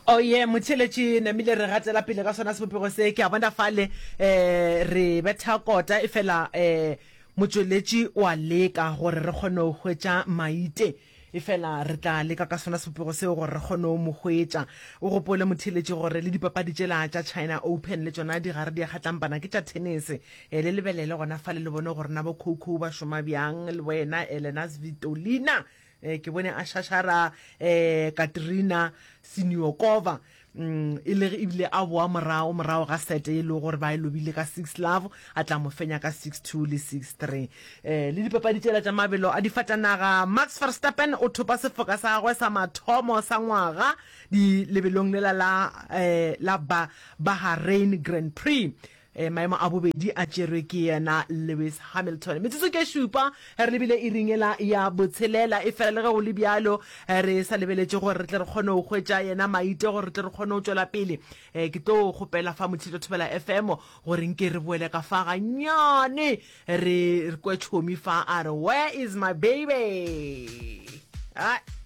Oh yeah, motheeletši namile re gatela pele ka sona sebopego se. Ke a bona fale eh re betha kota efela eh motšweletši o a leka gore re kgone go hwetša Maite. Efela re tla leka ka sona sebopego seo gore re kgone go mo hwetša. O gopole motheeletši gore le dipapadi tšela tša China Open le tšona di gare di a kgatlampana ke tša tennis. Eh le lebelele gona fale le bone gore na bo Coco ba šoma bjang le wena Elena Svitolina. Eh, ke bone a šašara eh, Katerina Siniakova mm, e le ebile a boa morago morago ga sete e le gore ba e lobile ka 6 love a tla mo fenya ka 6-2 le 6-3. Eh, le dipapadi tšela tša mabelo a difatanaga Max Verstappen o thopa sefoka sa gagwe sa mathomo sa ngwaga di lebelong lela la eh, la ba Bahrain Grand Prix. Maemo a bobedi a tšerwe ke yena Lewis Hamilton. Metsotso ke šupa re lebile iring yela ya botshelela, efela le ge go le bjalo re sa lebeletše gore re tle re kgone go hwetša yena Maite gore re tle re kgone go tšwela pele. Ke tlo kgopela fa Motšhitšo Thobela FM gore nke re boele ka fa gannyane re kwe Chomi fa a re where is my baby? Ai.